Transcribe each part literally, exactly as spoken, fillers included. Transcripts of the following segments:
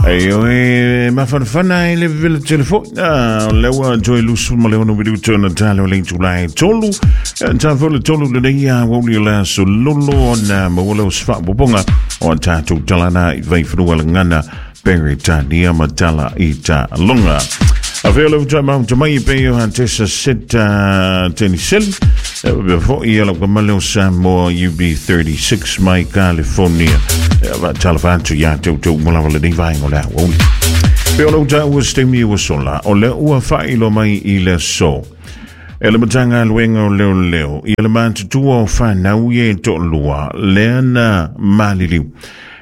Ai oi mafanafana i le vela telefoni. O lea ua toe lusu ma le ono minuto na talo le itula e tolu. Ta fo le tolu lenei a wauli o le aso lolo ona maua leo se faapopoga o a tatou talana i vaifanua lagana Peretania ma tala i taaloga. A fea le utai mahuta mai e pei o Antesa Seta Teniseli. E wapea foi ia lau kamale o Samoa U B thirty-six mai California. E wa talofa atu ia te ute umalawa lenei vaenga o le aoauli. Pe o le utai ua stemi ua sola, o le ua whailo mai i le so. E le matanga luenga o leo leo, ia le matutua o whanau ie to'olua, lea na maliliu.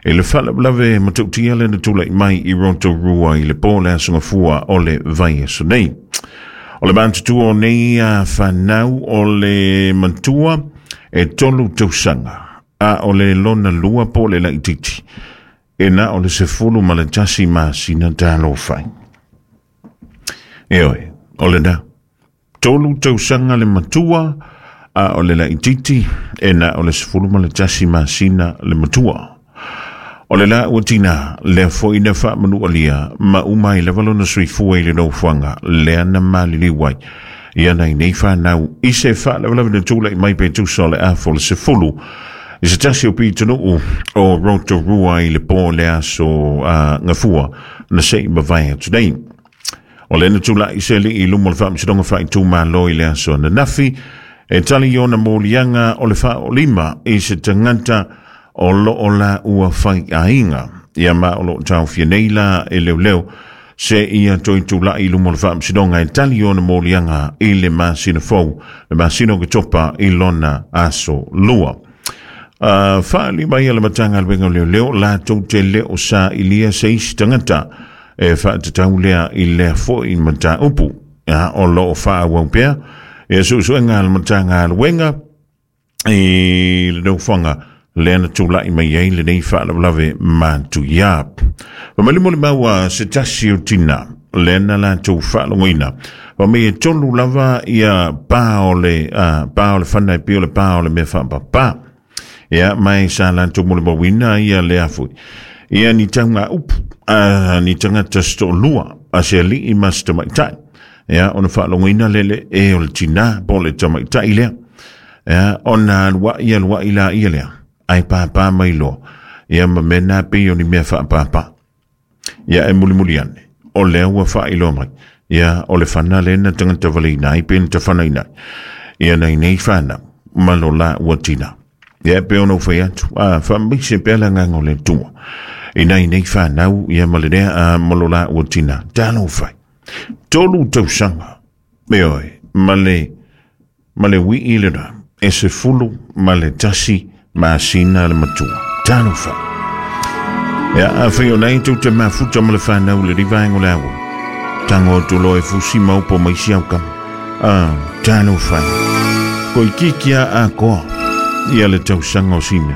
E le whalawlave matautia le na tūlai mai i Rotorua i le pō le aso gafua o le vai aso nei. O le matutua o nei a whanau o le matua e tolu tausaga, a o le lona lua pō le laititi. E na o le sefulu ma le tasi masina tālofai. E oe, o le na. Tolu tausaga le matua a o le laititi, e na o le sefulu ma le tasi masina le matua. O le la ua tina, lea foi na whaamanu alia, ma umai lava lona suifua i le nofoaga, lea na maliliu ai. Ia nei nei whanau, i se whaalawalawa na tūlai mai pe tusa o le afo le sefulu. I se tasi o pitanuu o Rotorua i le pō le aso uh, ngafua, na sei mawai atu nei. O le na tūlai se li i lumo le whaamsidonga whaitū i le aso na nafi, e tali iona mōlianga o le whaolima i se tangata o lo o la ua whai ainga. Ia ma o lo tau fia nei la e leo leo, se ia toi tūlai i lumo le whaamsidonga e tali iona mōlianga i le masina fou, le masina o ke topa i lona aso lua. Uh, whaali mai a le matanga alwenga leo leo, la tau te leo sa ilia se isi tangata, e whaatatau lea i lea foi mata upu. Ia, o lo o whaa waupea, e susuenga le matanga alwenga i le nofoaga lea na tūlai mai ai le nei whaalawalave mātu ia. Wamali le maua se tasi o tina, lea na lātou whaalongoina. Wamai e tolu lava ia pā o le, uh, pā o le whana e pio le pā o le mea whaapapa. Ia mai sa lātou mole mawina ia lea fui. Ia ni taunga upu, uh, ni tangata sto lua, a se alii mas tamaitai. Ia ona whaalongoina lele e o le tina, po le tamaitai lea. Ia ona lua ia lua ila ia lea. Ai pāpā mai loa. Ia ma mena pe o ni mea whaapāpā. Ia e muli muli ane. O lea ua whaailoa mai. Ia o le whana le na tangata wale inai pe na tawhana inai. Ia nei nei whana. Malo la ua tina. Ia pe ono whai atu. A whaambise pe ala nganga o le tua. Inai nei whanau. Ia ma le rea a malo la ua tina. Talo whai. Tolu tausaga. Me oe. Ma le, ma le wii le rā. E se fulu ma le tasi masina le matua. Talo whai. Ia a whai o nei tau te mafuta ma le whanau le rivaengo le awa. Tango tulo e fusi maupo mai si au kama. Ah, talo whai. Koi kikia a koa. Ia le tausaga o sina.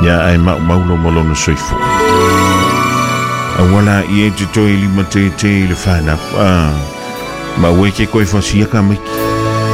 Ia ai mau maulo malona soifua. Awala i e te toi lima te te i le whanau. Ah, ma ue ke koe whasia ka miki.